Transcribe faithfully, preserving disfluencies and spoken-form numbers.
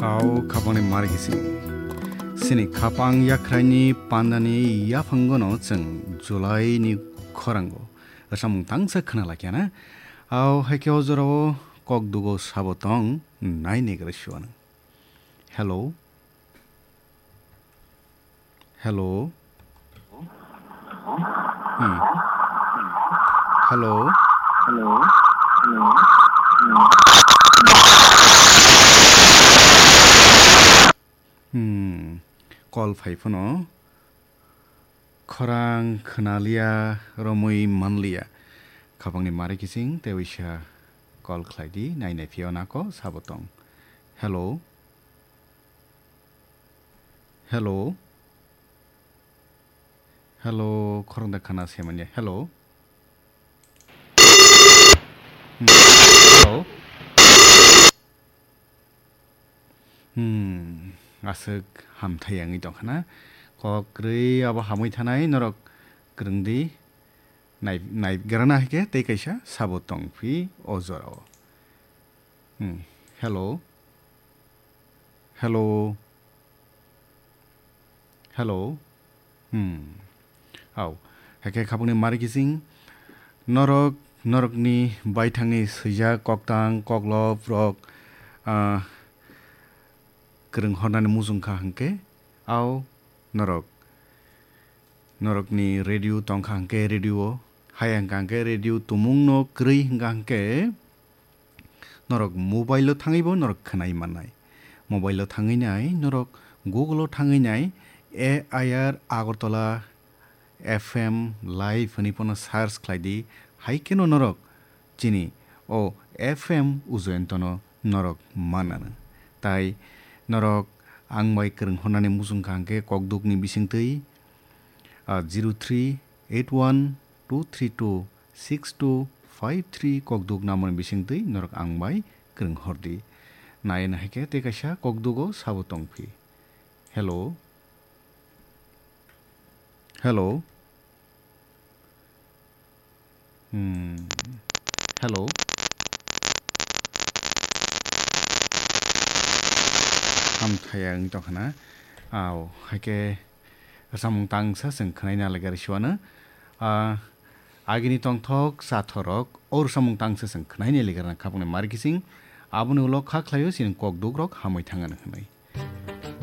Au khapangni mari kising. Sini khapang yakhraini pandani yaphangono chwng July ni khorango samung tangsa khna lakyana. Au haikhe o jorao kok dugo sabo tong nai negra siwano. Hello. Hello. Hmm. Hello. Hello. Hello. Hmm. Call phai phano. Khorang khwnaliya, romwi manliya. Khapangni mari kising, tei waisa call khlai di, nai nai phiyao nako sabo tong. Hello. Hello. Hello, khorang da khana se manya. Hello. Hmm. Hello. Hmm. Aswk hamthai wngwi tongkha na. Kok kwrwi abo hamwi thanai norok kwrwng di. Nai, nai grana hai khe tei kaisa sabo tong phi o jorao. Hmm. Hello. Hello. Hello. Hmm. Au. Hakhe khapangni mari kising. Norok, norokni baithangni swijak koktang, koklop rok, ah, kwrwng hornani muchung kha hwnkhe. Au. Norok. Norokni radio tongkha hwnkhe radio o. Hai hwnkha hwnkhe radio tumungno kwrwi hwnkha hwnkhe. Norok mobile o thangwi bo norok khwnai mannai. Mobile o thangwi nai norok Google o thangwi nai A I R Agartala F M live hwnwi phano search khlai di. Hai kheno norok chini o F M Ujoyontono norok mannano. Tai norok ang bai kwrwng hornani muchung kha hwnkhe kokdukni bisingtwi, ah, zero three eight one two three two six two five three kokduk namoni bisingtwi norok ang bai kwrwng hordi. Nai nai khe tei kaisa kokdugo sabo tongphi. Hello. Hello. Hmm. Hello. Hamthaya wng tongkha na. Au, haikhe samung tangsa chwng khwnai na lagar siwano. Ah, agini tongthok sathorok or samung tangsa chwng khwnai ni lagar na khapangni mari kising. Aboni ulo kha khlaio chini kokdukrok hamwi thangano hwnwi.